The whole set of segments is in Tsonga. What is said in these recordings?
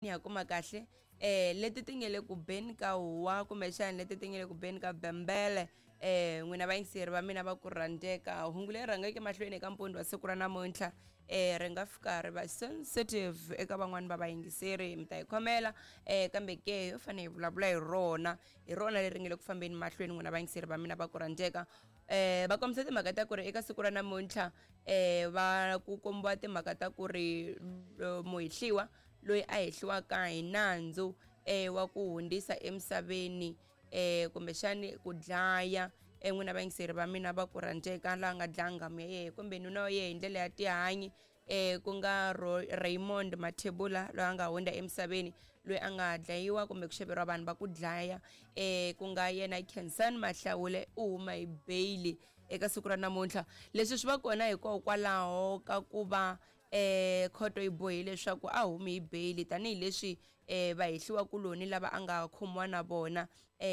Ni ya kuma kahle leti ti nge le ku beni ka huwa kumbexana leti ti nge le ku beni ka bembele. N'wina vayingiseri va mina va ku rhandzeka, hungu leri rhangeke mahlweni eka mpundzu wa siku ra namuntlha ri nga fika ri va sensitive eka van'wani va vayingiseri, mi ta yi khomela. Kambe ke ho fanele hi vulavula hi rona, hi rona leri nge le ku fambeni mahlweni. N'wina vayingiseri va mina va ku rhandzeka, va kombisa timhaka ta ku ri eka siku ra namuntlha va ku kombiwa timhaka ta ku ri muhehliwa loyi a hehliwaka hi nandzu wa ku hundzisa emisaveni kumbexani ku dlaya n'wina vayingiseri va mina va ku rhandzeka, laha nga dlaya nghamu ya yehe kumbe nuna wa yehe hi ndlela ya tihanyi, ku nga Raymond Mathebula loyi a nga hundza emisaveni, loyi a nga dlayiwa kumbe ku xaveriwa vanhu va ku dlaya, ku nga yena Khensani Mahlawule, u huma hi bail eka siku ra namuntlha. Leswi swi va kona hikokwalaho ka ku va khoto yi bohe leswaku a humi hi bail, tanihileswi vahehliwa kuloni lava a nga khomiwa na vona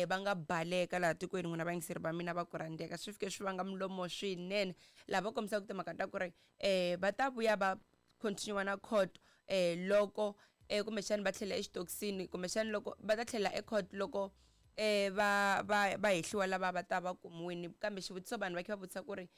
va nga baleka laha tikweni. N'wina vayingiseri va mina va ku rhandzeka, swi fike swi vanga milomo swinene laha va kombisaka timhaka ta ku ri va ta vuya va continue na court loko kumbexani va tlhela exitokisini, kumbexani loko va ta tlhela ecourt loko va va va hehliwa lava va ta va kumiwini. Kambe xivutiso vanhu va kha va vutisa ku ri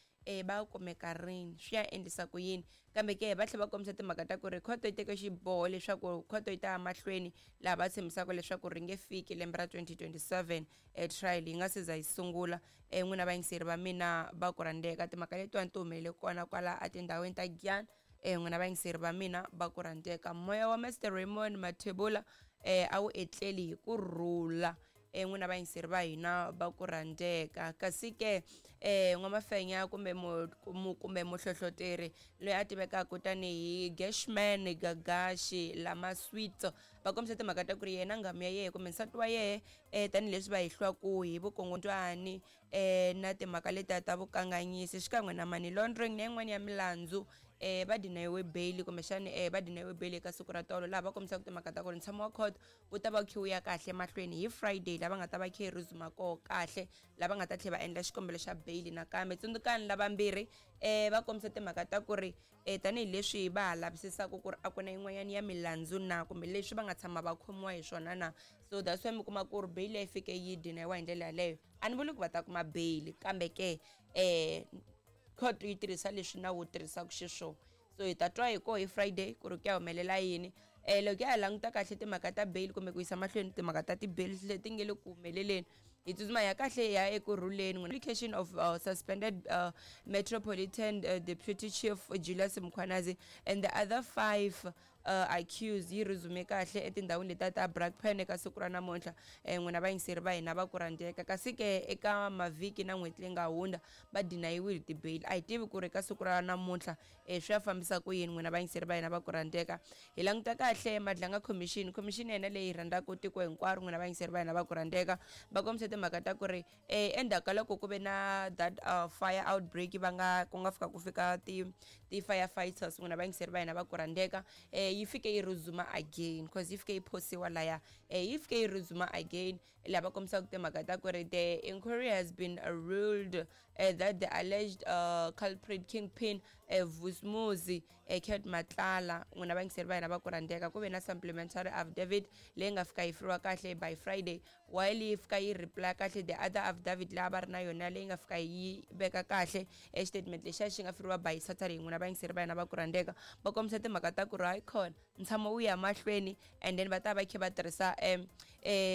va kumeka rini, swi ya endlisa ku yini? Kambe ke va tlhela va kombisa timhaka ta ku ri khoto yi teke xiboho leswaku khoto yi ta ya mahlweni, laha va tshembisaka leswaku ri nge fiki lembe ra 2027 trial yi nga se za yi sungula. N'wina vayingiseri va mina va ku rhandzeka, timhaka letiwani ti humelele kona kwala etindhawini ta Giyani. N'wina vayingiseri va mina va ku rhandzeka, moya wa Mr Raymond Mathebula a wu etleli hi ku rhula. N'wina vayingiseri va hina va ku rhandzeka, kasi ke n'wamafenya kumbe kumbe muhlohloteri loyi a tivekaka tanihi Gashman Gagashi Lama Sweets, va kombisa timhaka ta ku ri yena nghamu ya yehe kumbe nsati wa yehe, tanihileswi va hehliwaku hi vukongondwani na timhaka letiya ta vukanganyisi xikan'we na money laundering na yin'wana ya milandzu, va dinayiwe bail kumbexani va dinayiwe bail eka siku ra tolo, laha va kombisaka timhaka ta ku ri ntshamo wa court wu ta va khe wu ya kahle mahlweni hi Friday, lava nga ta va khe resume koho kahle, lava nga ta tlhela va endla xikombelo xa bail nakambe. Tsundzukani lavambirhi va kombisa timhaka ta ku ri tanihileswi va ha lavisisaka ku ri a ku na yin'wanyana ya milandzu na kumbe leswi va nga tshama va khomiwa hi swona na, so that's why mi kuma ku ri bail yi fike yi dinayiwa hi ndlela yaleyo. A ni vuli ku va ta kuma bail, kambe ke court yi tirhisa leswi nawu wu tirhisaka xiswona. So hi ta twa hi koho hi Friday ku ri ku ya humelela yini. Loko ya ha languta kahle timhaka ta bail kumbe ku yisa mahlweni timhaka ta ti-bail leti nge le ku humeleleni, hi tsutsuma ya kahle ya ekurhuleni. Application of suspended Metropolitan Deputy Chief Julius Mkhwanazi and the other 5 accused yi resume kahle etindhawini letiya ta Brakpan eka siku ra namuntlha. N'wina vayingiseri va hina va ku rhandzeka, kasi ke eka mavhiki na n'hweti leyi nga hundza va dinayiwile ti-bail. A hi tivi ku ri eka siku ra namuntlha swi ya fambisa ku yini. N'wina vayingiseri va hina va ku rhandzeka, hi languta kahle Madlanga Commission, commission ya hina leyi rhandzaka tiko hinkwaro. N'wina vayingiseri va hina va ku rhandzeka, va kombisa timhaka ta ku ri endzhaku ka loko ku ve na that fire outbreak, va nga ku nga fika ku fika ti firefighters, n'wina vayingiseri va hina va ku rhandzeka, yi fike yi resume again, cause yi fike yi phosiwa laya, yi fike yi resume again, laha va kombisaka timhaka ta ku ri the inquiry has been ruled that the alleged culprit kingpin Vusumuzi Cat Matlala. N'wina vayingiseri va hina va ku rhandzeka, ku ve na supplementary affidavit leyi nga fika yi firiwa kahle by Friday, while yi fika yi reply kahle the other affidavit leyi a va ri na yona leyi nga fika yi veka kahle e statement lexiya xi nga firiwa by Saturday. N'wina vayingiseri va hina va ku rhandzeka, va kombisa timhaka ta ku ri hayi khona ntshamo wu ya mahlweni, and then va ta va kha va tirhisa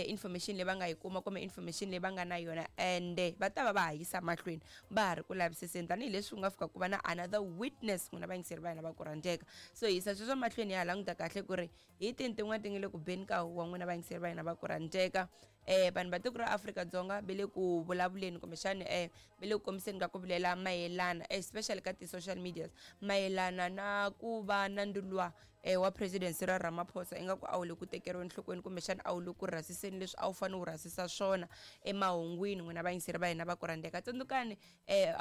information leyi va nga yi kuma kumbe information leyi va nga na yona, and va ta va va ha yisa mahlweni va ha ri ku lavisiseni, tanihileswi ku nga fika ku va na another witness. N'wina vayingiseri va hina va ku rhandzeka, so hi yisa sweswo mahlweni ya ha languta kahle ku ri hi tini tin'wana ti nga le ku beni ka huwa. N'wina vayingiseri va hina va ku rhandzeka, vanhu va tiko ra Afrika-Dzonga va le ku vulavuleni kumbexani va le ku kombiseni ka ku vilela mayelana, especially ka ti-social medias, mayelana na ku va na ndulwa wa President Cyril Ramaphosa ingaku a wu le ku tekeriweni enhlokweni kumbexana a wu le ku rhasiseni leswi a wu fanele wu rhasisa swona emahungwini. N'wina vayingiseri va hina va ku rhandzeka, tsundzukani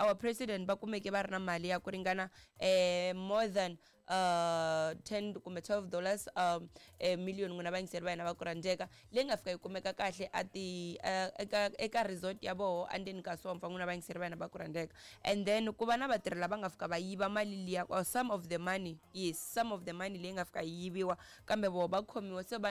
our president va kumeke va ri na mali ya ku ringana more than 10 kumbe $12 million, n'wina vayingiseri va hina va ku rhandzeka, leyi nga fika yi kumeka kahle a ti eka resort ya voho endzeni ka sompfa. N'wina vayingiseri va hina va ku rhandzeka, and then ku va na vatirhi lava nga fika va yiva mali liya, or some of the money, yes, some of the money leyi nga fika yi yiviwa, kambe voho va khomiwa se va